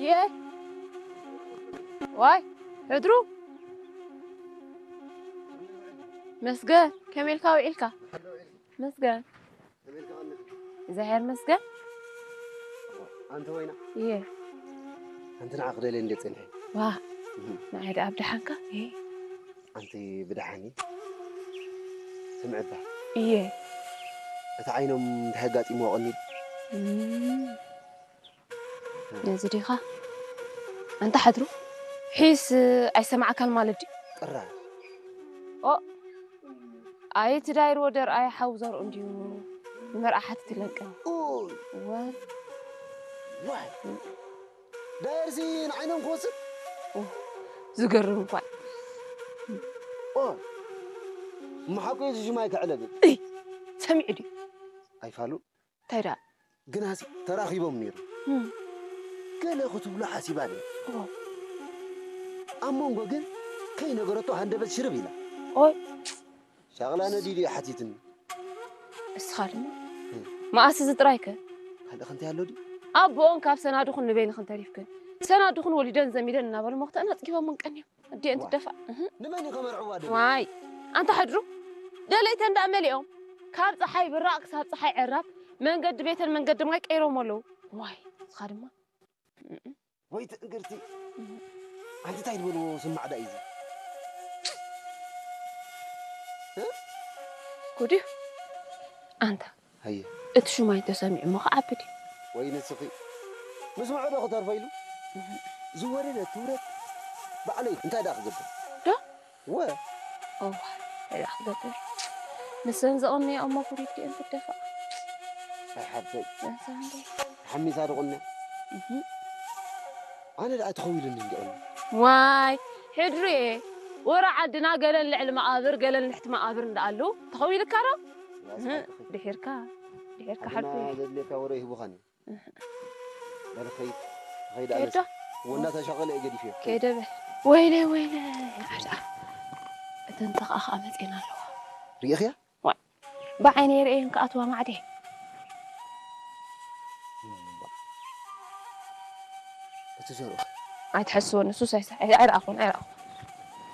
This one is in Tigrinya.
እየ። ዋይ፣ ሕድሩ። መስገን፣ ከመይ ኢልካ ውዒልካ? መስገን። እግዚኣብሔር መስገን። ኣንቲ ወይና። እየ። ኣንቲ ንዓ ክደልየ እንደ ጸኒሐ። ዋ፣ እህ። ንዓይ ደኣ ኣብ ደሓንካ? እየ። ኣንቲ ብደሓኒ? ስምዕባ። እየ። እቲ ዓይኖም እንታይ ኣጋጢምዎ ቀኒሉ? እም። ነዚ ዲኻ? ኣንታ ሓድሩ፣ ሒስ ኣይሰማዕካን ማለት ድዩ? ጥራይ። ኦ፣ ኣይ እቲ ዳይርዎ ደርኣይ ሓው ዘርኡ እንድዩ ንመርዓ ሓቲትለን ቀኒ። ኡይ። እወ። ዋይ። ዳየርሲ ንዓይኖም ክወስድ? ኦ፣ ዝገርም እኳ። ኦ፣ እሞ ሓቁ እዩ፣ እዚ ሽማይ ከዕለብል። እይ፣ ሰሚዑ ድዩ? ኣይፋሉን። እንታይ ደኣ? ግናሲ ተራኺቦም ነይሩ። እም። ገለ ክትብሎ ሓሲባ ነይሩ። ኦ። ኣብ መንጎ ግን ከይነገረቶ ሃንደበት ሽርብ ኢላ። ኦይ። ሻቕላ ነዲዱ እዩ ሓቲትኒ። እስኻ ድማ? እም። መኣስ እዚ ጥራይከ? ካልእ ክንታይ ኣሎ ድዩ? ኣቦኦን ካብ ሰናድኹን ንበይንኽን ተሪፍክን። ሰናድኹን ወሊደን ዘሚደን እናበሉ መኽተአን ኣጽጊቦምን ቀንዮም። ኣዲአን ዋ። ትደፋእ። እህ። ንመን እዩ ከመርዕዋ ደልዩ? ዋይ። ኣንታ ሕድሩ። ደለይተን ደኣ መሊኦም። ካብ ጸሓይ ብራቕ ክሳብ ጸሓይ ዕራብ መንገዲ ቤተን መንገዲ ማይ ቀይሮም ኣለዉ። ዋይ። እስኻ ድማ? እም። ወይ ትእንግርቲ። እም። ኣንቲ እንታይ ዝበልዎ ስማዕ ዳ እዩ እዚ? እ? ጉድ እዩ። ኣንታ ሃየ። እቲ ሹማይ እንተሰሚዑ እሞ ክዓቢ ድዩ? ወይ ንስኺ። ምስምዑ ዶ ክተርፎ ኢሉ? እህ። ዝወረደ ትውረድ። ባዕለይ እንታይ ደኣ ክገብር? ዶ? ወ። እዋ፣ እንታይ ደኣ ክገብር? ንሰን ዘቐነያ እሞ ጉድ እዩ እዲአን ትደፋእ። ኣይ ሓብተይ። ንሰን ዶ? ሓሚሳ ዶ ቁንያ? እህ። ኣነ ደኣ ተኸዊሉኒ እንዲኦ። ዋይ፣ ሕድሪ እየ። ወረ ዓድና ገለን ልዕሊ መቓብር፣ ገለን ልሕቲ መቓብር እንዳኣሉ ተኸዊልካ ዶ? ያስ እህ፣ ሓቅኺ። ድሒርካ፣ ድሒርካ ኣድና ሓልኩ እየ። ዘድልየካ ወረ ይህቡኻን እዩ። እህ። በል ኸይድ፣ ኸይድ ከይዶ? ኣነስ። ወንዳ ተሻቐለ እየ ገዲፍዮ። ከይደ በል። ወይለ፣ ወይለ፣ ዓዳ። እተን ተኸኣ ኸኣ መጺኤን ኣለዋ። ርኢኽያ? ዋይ፣ ብዓይነይ ርእየን ክኣትዋ ማዕደ። እቲ ዘርኡ። ኣይትሐስወኒ፣ ሱስ ኣይስ-፣ ኣይ-፣ ኣይረኣኹን፣ ኣይረኣኹን።